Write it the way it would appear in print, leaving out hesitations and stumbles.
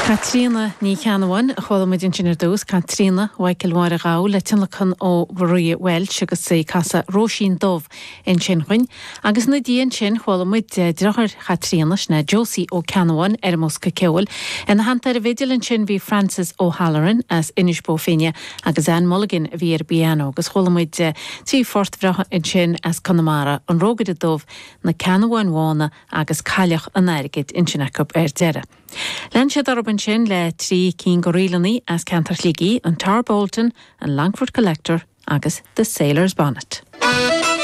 Caitríona Ní Cheannabháin a chuala muid ansin ar dtús, Caitríona Mhichael Mháire Ghabha le tionlacan ó Mharia Walsh agus í ag casadh Róisín Dubh ansin chugainn. Agus ina diaidh ansin chuala muid deartháir Chaitríona, sin é Josie Ó Ceannabháin ar an mbosca ceoil. Ina theannta ar an bhfidil ansin bhí Francis O'Halloran as Inis Bó Finne agus Anne Mulligan a bhí ar an bpianó agus chuala muid trí phort bhreátha ansin as Conamara, An Rógaire Dubh, Na Ceannabháin Bhána agus Cailleach an Airgid ansin acu ar deireadh. Lean siad orthu ansin le trí cinn de ríleanna as ceantar Shligigh, an Tarbolton, an Longfort Collector agus The Sailor's Bonnet.